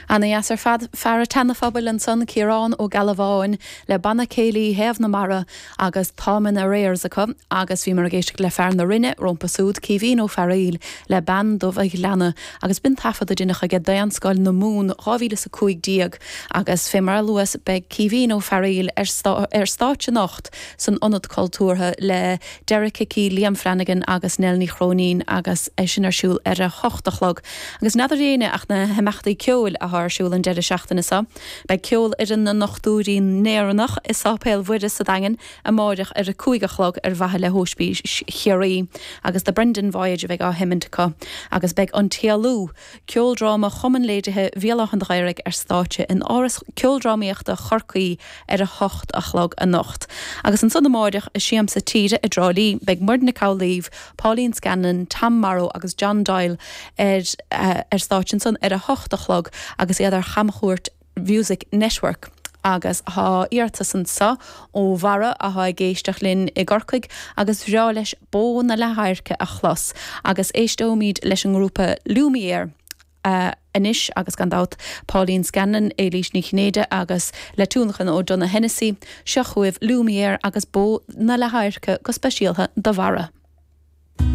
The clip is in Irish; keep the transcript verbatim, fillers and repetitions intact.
Ana-dheas ar fad fear an tSeana-Phobail ansan Ciarán Ó Gealbháin le banna céilí Thaobh na Mara agus Táim in Arrears acu agus bhíomar ag éisteacht le fear na Rinne rompu súd Caoimhín Ó Fearghaíl le Bean Dubh an Ghleanna agus b'in taifead a deineadh aige Daonscoil na Mumhan dhá mhíle is a cúig déag agus fé mar a luas beidh Caoimhín Ó Fearghaíl ar stáitse anocht san Ionad Cultúrtha le Derek Hickey, Liam Flanagan agus Nell Ní Chróinín agus é sin ar siúl ar a hocht a chlog. Agus n'fheadar éinne ach na himeachtaí ceoil atá ar siúl an deireadh seachtaine seo. Beidh ceolfhoireann na nDochtúirí nÉireannach i Sáipéal Mhuire sa Daingean amáireach ar a cúig a chlog ar mhaithe le hOspís Chiarraí agus The Brendan Voyage a bheidh á sheimint acu agus beidh an tÉalú ceoldráma Chumann Léirithe Bhéal Átha an Ghaorthaidh ar stáitse in Áras Ceoldrámaíochta Chorcaí ar a hocht a chlog anocht. Agus ansan amáireach i Siamsa Tíre i dTrá Lí beidh Muireann Nic Amhlaoibh, Pauline Scanlon, Tom Morrow agus John Doyle ar uh, ar stáitse ansan ar a hocht a chlog agus iad ar chamchuairt Music Network. agus tá iarratas anseo ó Bharra atá ag éisteacht linn i gCorcaigh agus bhreá leis Bó na Leathadhairce a chlos agus éisteoimid leis an ngrúpa Lumiere. Uh, anois agus gan dabht Pauline Scanlon, Éilís Ní Chinnéide agus le tionlacan ó Donogh Hennessy, seo chugaibh Lumiere agus Bó na Leathadhairce go speisialta do Bharra.